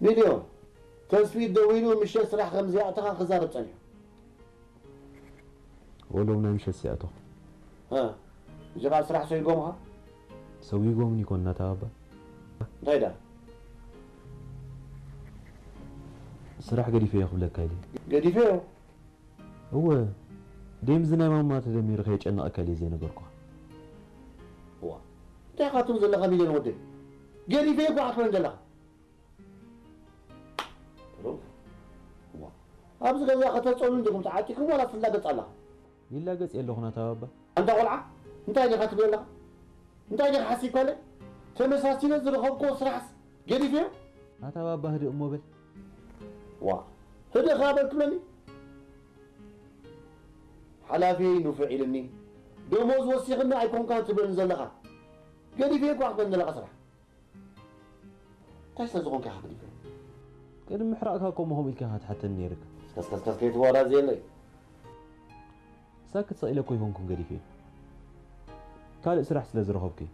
ሚልዮን፣ ተስፊት ደዊሉ ምሸት ስራሕ ከም ዘይኣተኻ ክዛረብ ጸኒሑ። ወሎም ናይ ምሸት ሲኣተኹ። እ፣ እዚ ኸኣ ስራሕ ሰይጎምኻ? ሰዊጎምኒ ይኮን ናታ ኣባ? እንታይ ደኣ? ስራሕ ገዲፈዮ ክብለካ ኢለ። ገዲፈዮ? እወ፣ ደምዚ ናይ ማማ ተደሚሩ ከየጨንቐካ ኢለ ዘይነገርኩኻ። እዋ፣ እንታይ ኢኻ ትብል ዘለኻ ሚልዮን ወደይ? ገዲፈዮ እኮ ኣትበን ዘለኻ። እዋ፣ ኣብዚ ገዛ ከተጸሉ እንዲኹም ተዓጢኩም ዋላ ትላገጽ ኣለኻ? ይላገጽ የለኹ ናታ ኣባ። ኣንታ ቆልዓ፣ እንታይ ዲኻ ትብል ኣለኻ? እንታይ ዲኻ ሓሲብካለ? ተመሳሲለ ዝረኸብክዎ ስራሕስ ገዲፈዮ? ኣታ ባባ ህድእ እሞ በል። ዋ፣ ህድእ ኸኣ በል ትብለኒ? ሓላፊየይ ንፉዕ ኢልኒ፣ ደሞዝ ወሲኽኒ ኣይኮንካን ትብለኒ ዘለኻ። ገዲፈዮ እኳ ክትብለኒ ዘለኻ ስራሕ። እንታይ ስለ ዝኾንካ ኢኻ ገዲፈዮ? ቅድሚ ምሕራቕካ እኮ እሞ ከምኡ ኢልካ ኢኻ ትሓተኒ ነይርካ። ከስከስከስ ከይትዋዳዘየለይ። ሳክት ስቕ ኢለ እኮ ኣይኮንኩን ገዲፈዮ። ካልእ ስራሕ ስለ ዝረኸብኩ እዩ።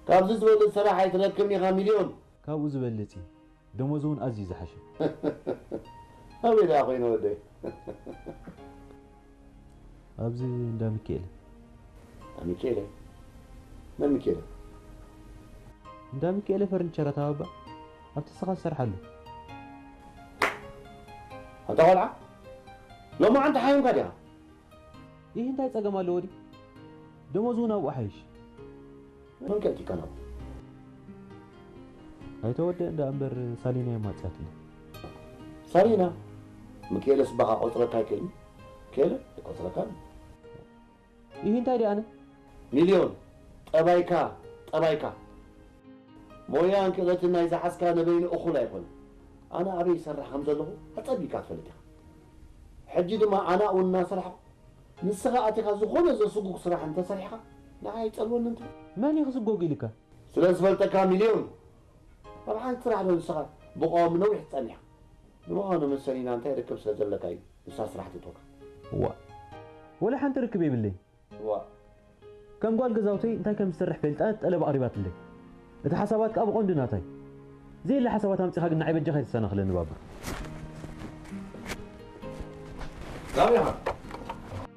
ካብዚ ዝበልጽ ስራሕ ኣይትረክብን ኢኻ ሚልዮን። ካብኡ ዝበልጽ እዩ። ደሞዝ እውን ኣዝዩ ዝሓሸ። ኣበይ ደኣ ኮይነ ወደይ? ኣብዚ እንዳ ሚካኤል። ኣሚኬለ? መን ሚኬለ? እንዳ ሚካኤል ፈርኒቸር ኣታ ባባ ኣብቲ ንስኻ ትሰርሓሉ። ኣንታ ቆልዓ፣ ሎማዓንቲ ሓይምካ ዲኻ? ይህ እንታይ ጸገም ኣለዎ ድዩ? ደሞዝ እውን ኣብኡ ሓይሽ። መን ቀልጢካ ናብኡ? ኣይተወደእን ደኣ እምበር ሳሊና እያ ማጽያትለይ። ሳሊና? ሚካኤለስ ባኻ ቆጽረካ ኣይክእልን? ሚካኤለ ኣይቆጽረካን። ይህ እንታይ ደኣ ኣነ? ሚልዮን፣ ጠባይካ፣ ጠባይካ። ሞያን ክእለትን ናይ ዝሓዝካ ነበይኑ እኹል ኣይኮነን። ኣነ ኣበይ ይሰርሕ ከም ዘለኹ ኣጸቢካ ትፈልጥ ኢኻ። ሕጂ ድማ ኣነ ኣብኡ እናሰርሕኩ ንስኻ ኣቲኻ ዝኾነ ዘስጉግ ስራሕ እንተሰሪሕካ ንዓይ ኣይጸልወንን ትብል። መን እዩ ክስጎግ ኢልካ? ስለ ዝፈልጠካ ሚልዮን። ኣብ ሓንቲ ስራሕ ዶ ንስኻ ብቐዋሚ ነዊሕ ትጸኒሕ? ንምዃኑ ምስ ሰሊና እንታይ ርክብ ስለ ዘለካ እዩ ንሳ ስራሕ ትእትወካ? እዋ፣ ወላ ሓንቲ ርክብ የብለይ። እዋ፣ ከም ጓል ገዛውተይ እንታይ ከም ዝሰርሕ ፈልጣ ጠለብ ኣቕሪባትለይ። እቲ ሓሳባት ከኣ ብቐንዱ ናታይ። ዘየለ ሓሳባት ኣምጺኻ ግን ንዓይ በጃኻ ኣይትሰናኽለኒ ባባ። ናበይ ኢኻ?